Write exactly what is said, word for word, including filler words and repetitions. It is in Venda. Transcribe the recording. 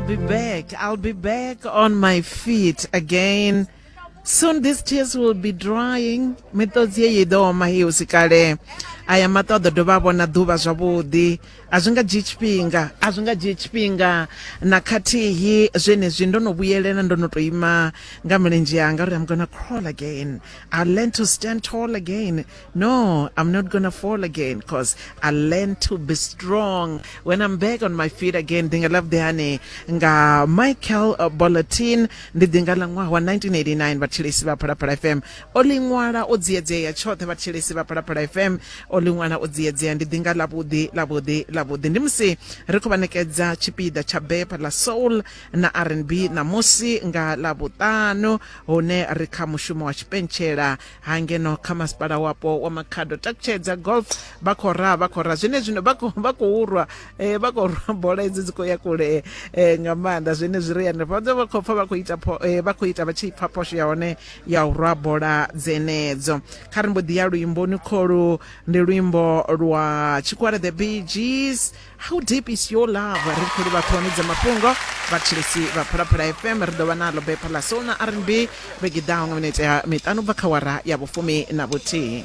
I'll be back. I'll be back on my feet again. Soon these tears will be drying. Miṱodzi yeyi i ḓo oma heyi husi kale. Aya maṱo a ḓo dovha a vhona ḓuvha zwavhuḓi. A zwi nga dzhii tshifhinga, a zwi nga dzhii tshifhinga na khathihi. Zwenezwi ndo no vhuyelela, ndo no to ima nga milenzhe yanga uri I'm gonna crawl again. I learn to stand tall again. No, I'm not gonna fall again 'cause I learn to be strong when I'm back on my feet again. Ḓinga ḽa vhuḓi hani nga Michael Bolotin, ndi ḓinga ḽa ṅwaha wa nineteen eighty-nine. Vhathetshelesi vha Phalaphala F M, o ḽi ṅwala o dziedzea tshoṱhe. Vhathetshelesi vha Phalaphala F M, o ḽi ṅwala o dziedzea. Ndi ḓinga ḽavhuḓi, ḽavhuḓi, ḽavhuḓi. Ndi musi ri khou vha ṋekedza tshipiḓa tsha bepha ḽa soul na R and B ṋamusi nga Ḽavhuṱanu, hune ri kha mushumo wa tshipentshela hangeno kha masipala wapo wa Makhado. Takutshedza golf, vha khou raha, vha khou raha zwene zwino, vha khou vha khou rwa eh, vha khou rwa bola idzi dzi khou ya kule eh, nga maanḓa. Zwenezwi ri hanefha vha khou pfa vha khou ita pho- eh, vha khou ita vha tshi pfa phosho ya hone ya u rwa bola dzenedzo. Kha ri mbo ḓi ya luimboni kholu, ndi luimbo lwa tshikwara The Bee Gees, "How Deep Is Your Love". Ri khou livha ṱhoni dza mafhungo. Vhathetshelesi vha Phalaphala F M, ri ḓo vha nalo bepha ḽa soul na R and B vhege ḓaho nga minete ya miṱanu bva kha wara ya vhufumi na vhuthihi.